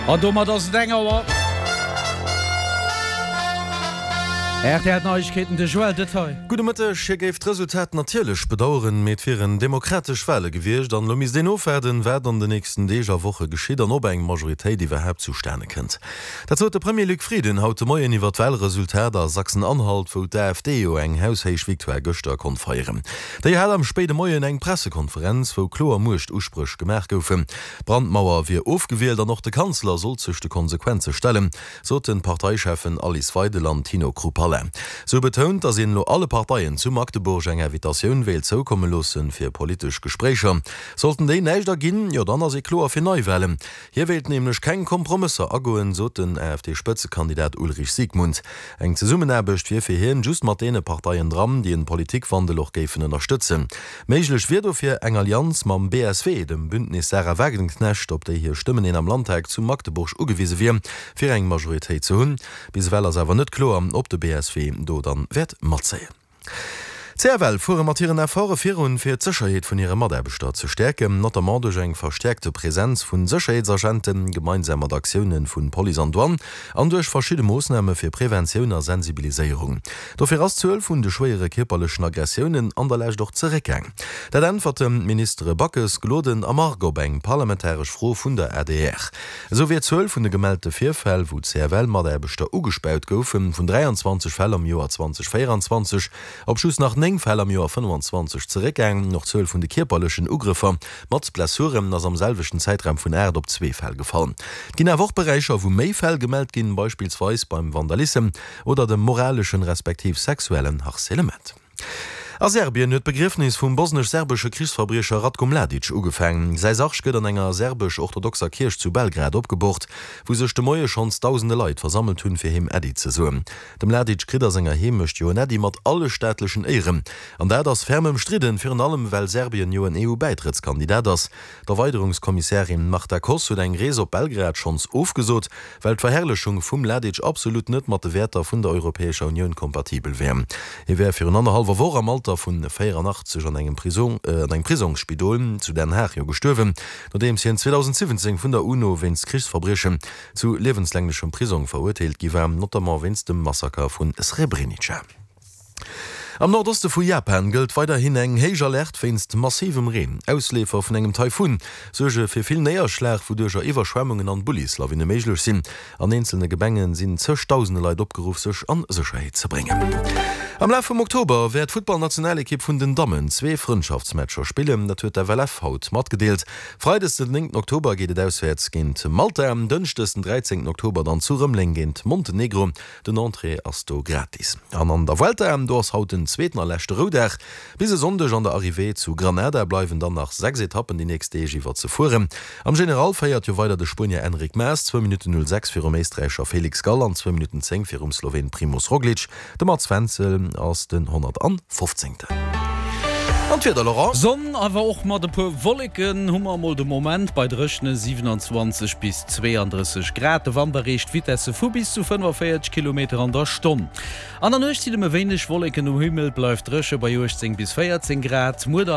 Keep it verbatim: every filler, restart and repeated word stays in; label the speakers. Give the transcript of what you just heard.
Speaker 1: An domat ass et eng Auer. R T L Neiegkeeten, de Joël Detaille.
Speaker 2: Gudde Mëtteg. Hie géif d'Resultat natierlech bedaueren, mee et wieren demokratesch Wale gewiescht an elo misst een ofwaarden, wat an den nächsten Deeg a Woche geschitt an ob eng Majoritéit iwwerhaapt zustane kënnt. Dat sot de Premier Luc Frieden haut de Moien iwwer d'Walresultat a Sachsen-Anhalt, wou d'A F D jo eng haushéich Victoire gëschter konnt feieren. Déi hat am spéide Moien eng Pressekonferenz, wou kloer Muechtuspréch gemaach goufen. D'Brandmauer wier ofgewielt an och de Kanzler sollt sech de Konsequenze stellen, soten d'Parteicheffen Alice Weidel an Tino Chrupalla. Se hu betount, datt een elo alle Parteien zu Magdeburg eng Invitatioun wéilt zoukomme loossen, fir politesch Gespréicher. Sollten déi näischt erginn, jo dann ass ee kloer fir Neiwalen. Hie wéilt nämlech keng Kompromësser agoen, sot den A F D-Spëtzekandidat Ulrich Siegmund. Eng Zesummenaarbecht wier fir hien just mat deene Parteien dran, déi en Politikwandel och géifen ënnerstëtzen. Méiglech wier dofir eng Allianz mam B S W, dem Bündnis Sahra Wagenknecht, op déi hir Stëmmen een am Landtag zu Magdeburg ugewise wier, fir eng Majoritéit ze hunn. Bis ewell ass awer net kloer, ob de B S W do dann wäert matzéien. D'C F L fuere mat hiren Efforte virun, fir d'Sécherheet vun hire Mataarbechter ze stäerken, notamment duerch eng verstäerkte Presenz vu Sécherheetsagenten, gemeinsam mat Aktioune vu Police an Douane an duerch verschidde Moossname fir Preventioun a Sensibiliséierung. Dofir ass d'Zuel vun de schwéiere kierperlechen Aggressiounen an der Lescht och zeréckgaang. Dat äntwerten d'Ministere Backes, Gloden a Margue op eng parlamentaresch Fro vun der A D R. Esou wier d'Zuel vun de gemellte Virfäll, wou C F L-Mataarbechter ugespaut goufen, vun dräianzwanzeg Fäll am Joer zweedausendvéieranzwanzeg op just nach néng Fäll am Joer fënnefanzwanzeg zeréckgaangen. Och d'Zuel vun de kierperlechen Ugrëffer mat Blessuren ass am selwechten Zäitraum vun aacht op zwee Fäll gefall. Et ginn awer och Beräicher, wou méi Fäll gemellt ginn, beispillsweis beim Vandalissem oder dem moraleschen respektiv sexuellen Harcèlement. A Serbien huet d'Begriefnis vum bosnesch-serbesche Krichsverbriecher Ratko Mladic ugefaangen. Säi Sarg gëtt an enger serbesch-orthodoxer Kierch zu Belgrad opgeboort, wou sech de Moie schonns dausende Leit versammelt hunn, fir him Äddi ze soen. De Mladic kritt a senger Heemecht jo en Äddi mat alle staatlechen Éieren. An dat ass ferm ëmstridden, virun allem well Serbien jo en E U-Bäitrëttskandidat ass. D'Erweiderungskommissärin Marta Kos huet eng Rees op Belgrad schonns ofgesot, well d'Verherrlechung vum Mladic absolut net mat de Wäerter vun der Europäescher Unioun kompatibel wär. Hie wär virun annerhallwer Woch am Alter vun véierannachtzeg an engem Prisong, an engem Prisongsspidol zu Den Haag jo gestuerwen, nodeems hien zweedausendsiwwenzéng vun der UNO wéinst Krichsverbriechen zu liewenslänglechem Prisong verurteelt gi war, notamment wéinst dem Massaker vu Srebrenica. Am Nordoste vu Japan gëllt weiderhin eng héich Alerte wéinst massivem Reen. Ausleefer vun engem Taifun suerge fir vill Néierschlag, wouduercher Iwwerschwemmunge an Bullislawine méiglech sinn. An eenzelne Gemenge sinn zëgdausende Leit opgeruff, sech a Sécherheet ze bréngen. Am Laf vum Oktober wäert d'Futtballnationalekipp vun den Dammen zwee Frëndschaftsmatcher spillen, dat huet d'F L F haut matgedeelt. Freides den néngten Oktober geet et auswäerts géint Malta, dënschdes den dräizéngten Oktober dann zu Rëmeleng géint Montenegro. Den Entrée ass do gratis. An an der Vuelta, do ass haut den zweeten a leschte Roudag. Bis e Sonndeg an der Arrivée zu Granada bleiwen dann nach sechs Etappen déi nächst Deeg iwwer ze fueren. Am General féiert jo weider de Spuenier Enric Mas, zwou Minutten null sechs virum Éisträicher Felix Gall an zwou Minutten zéng virum Sloween Primoz Roglic. De Mats Wenzel ass den honnertfofzéngten. An d'Wieder, Laurent?
Speaker 1: Sonn, awer och mat e puer Wolleken hu mer emol de Moment bei dréchene siewenundzwanzeg bis zweeandrësseg Grad. De Wand erreecht Vitesse vu bis zu fënnefavéierzeg Kilometer an der Stonn. An der Nuecht sinn nëmme wéineg Wolleken um Himmel, bleift dréche bei uechtzéng bis véierzéng Grad. Muer der